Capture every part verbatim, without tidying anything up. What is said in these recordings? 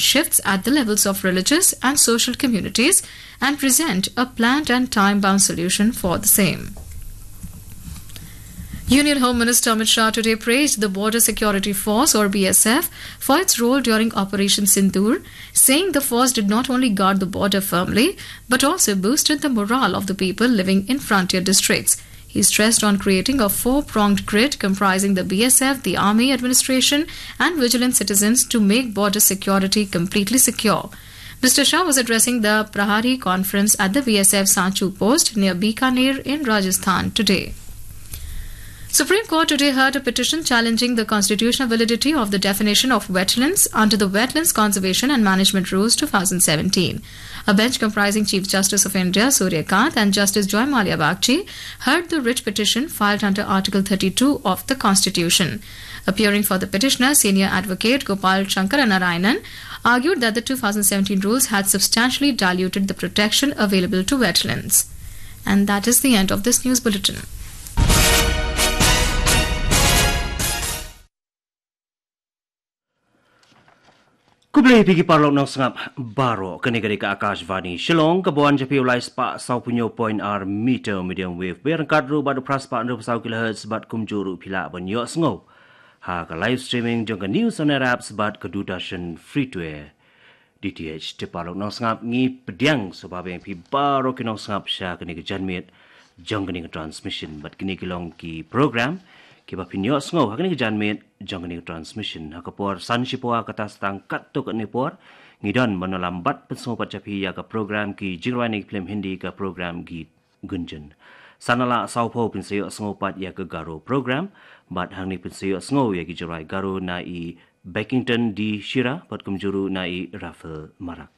shifts at the levels of religious and social communities and present a planned and time-bound solution for the same. Union Home Minister Amit Shah today praised the Border Security Force, or B S F, for its role during Operation Sindoor, saying the force did not only guard the border firmly but also boosted the morale of the people living in frontier districts. He stressed on creating a four-pronged grid comprising the B S F, the army administration, and vigilant citizens to make border security completely secure. Mister Shah was addressing the Prahari conference at the B S F Sanchu post near Bikaner in Rajasthan today. Supreme Court today heard a petition challenging the constitutional validity of the definition of wetlands under the Wetlands Conservation and Management Rules two thousand seventeen. A bench comprising Chief Justice of India Surya Kant and Justice Joymalia Bagchi heard the writ petition filed under Article thirty-two of the Constitution. Appearing for the petitioner, senior advocate Gopal Shankar Narayanan argued that the two thousand seventeen rules had substantially diluted the protection available to wetlands. And that is the end of this news bulletin. Khublei phi ki paralok nongsngap baroh, kane ka dei ka Akashvani Shillong, ka ban sha phi u lai spah saw phew hynñiew point ar meter medium wave, bad ryngkat ruh bad u phra spah hynriew phew saw kilohertz, bad kumjuh ruh phi lah ban ïohsngew ha ka live streaming jong ka News on Air apps bad ka Doordarshan Free to Air D T H. Te paralok nongsngap, ngi pdiang sngewbha biang ïa phi baroh ki nongsngap sha kane ka janmiet jong kane ka transmission, bad kine ki long ki program kiba phin ïohsngew ha kane ka janmiet jong kane ka transmission. Ha ka por san shiphew kata sa tang katto katne por, ngi don ban ïalam bad pynsngew pat sha phi ïa ka program ki jingrwai na ki film Hindi, ka program Geet Gunjan. San la saw phew phin sa ïohsngew pat ïa ka Garo program, bad hangne phin sa ïohsngew ïa ki jingrwai Garo na i Beckington D Shira bad kumjuh ruh na i Rafael Marak.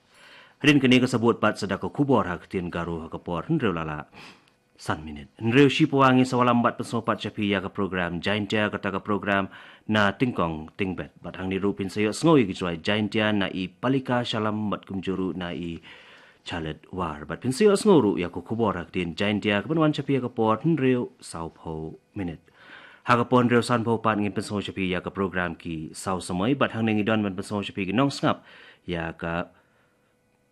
Hadien kane ngin sa bud pat sa da ka khubor ha ka ktien Garo ha ka por hynriew la lah san minit. Hynriew shiphew ngin sa ïalam bad pynsngew pat sha phi ïa ka program Jaintia, kata ka program na Tyngkong Tyngbet. Bad hangne ruh phin sa ïohsngew ïa ki jingrwai Jaintia na i Palika Shallam bad kumjuh ruh na i Charlotte War. Bad phin sa ïohsngew ruh ïa ka khubor ha ka ktien Jaintia kaban wan sha phi ha ka por hynriew saw phew minit. Ha ka por hynriew san phew pat ngin pynsngew sha phi ïa ka program Ki Saw Samoi, bad hangne ngi don ban pynsngew sha phi ki nongsngap ïa ka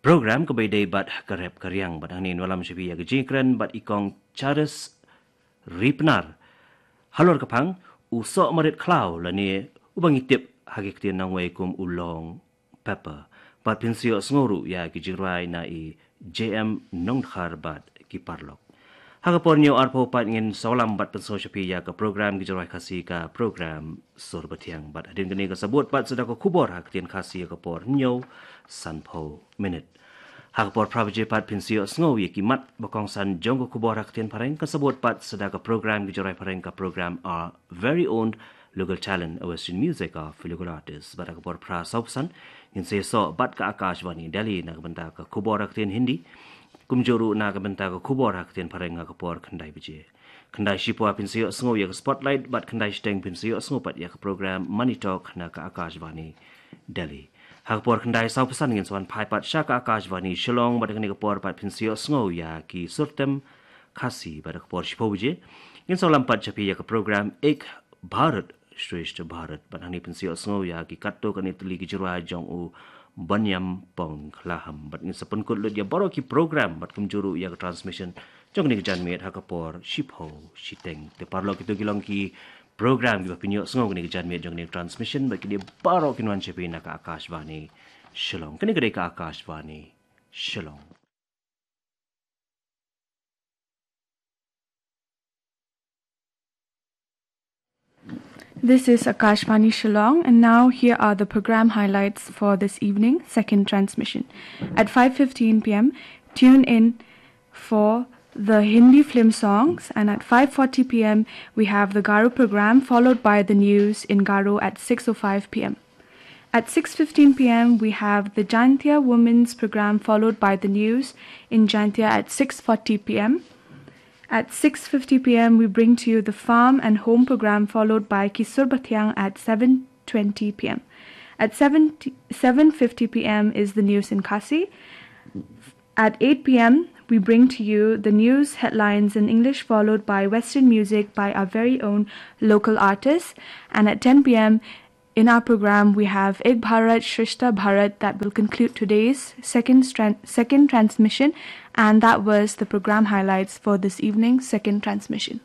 program kaba ïadei bad ka rep ka riang, bad hangne ngin ïalam sha phi ïa ka jingkren bad i Kong Charles Ripnar. Halor ka phang, u soh marit khlaw lane uba ngi tip ha ki ktien nongwei kum u long pepper. Bad phin sa ïohsngew ruh ïa ki jingrwai na i J M Nongdkhar bad ki paralok. Ha ka por hynñiew ar phew pat ngin sa ïalam bad pynsngew sha phi ïa ka program ki jingrwai Khasi, ka program Sur Bathiang. Bad hadien kane ngin sa bud pat sa da ka khubor ha ka ktien Khasi ha ka por hynñiew san phew minit. Ha ka por phra baje pat phin sa ïohsngew ïa ki mat ba kongsan jong ka khubor ha ka ktien Phareng, ngin sa bud pat sa da ka program ki jingrwai Phareng, ka program Our Very Own Local Talent, a Western Music of Local Artists. Bad ha ka por phra saw phew san ngin sa ïasoh bad ka Akashvani Delhi na ka bynta ka khubor ha ka ktien Hindi, kumjuh ruh na ka bynta ka khubor ha ka ktien Phareng ha ka por khyndai baje. Khyndai shiphew phin sa ïohsngew ïa ka Spotlight, bad khyndai shiteng phin sa ïohsngew pat ïa ka program Money Talk na ka Akashvani Delhi. Ha ka por khyndai saw phew san ngin sa wan phai pat sha ka Akashvani Shillong, bad ha kane ka por pat phin sa ïohsngew ïa ki surtem Khasi, bad ha ka por shiphew baje ngin sa ïalam pat sha phi ïa ka program Ek Bharat Shreshtha Bharat, bad hangne phin sa ïohsngew ïa ki katto katne tylli ki jingrwai jong u Banyam Pong Khlaham. Bad ngin sa pynkut lut ïa baroh ki program bad kumjuh ruh ïa ka transmission jong kane ka janmiet ha ka por shiphew shiteng. Te paralok, kito ki long ki program kiba phin ïohsngew kane ka janmiet jong kane ka transmission, bad kine baroh kin wan sha phi na ka Akashvani Shillong. Kane ka dei ka Akashvani Shillong. This is Akashvani Shillong, and now here are the program highlights for this evening, second transmission. At five fifteen p m, tune in for the Hindi film songs, and at five forty p m, we have the Garo program, followed by the news in Garo at six oh five p m. At six fifteen p m, we have the Jaintia Women's program, followed by the news in Jaintia at six forty p m. At six fifty p m, we bring to you the Farm and Home program, followed by Ki Sur Bathiang at seven twenty p m. At seven, seven fifty p m is the news in Khasi. At eight p m, we bring to you the news headlines in English, followed by Western music by our very own local artists. And at ten p m, In our program, we have Ek Bharat Shreshtha Bharat that will conclude today's second, tran- second transmission, and that was the program highlights for this evening's second transmission.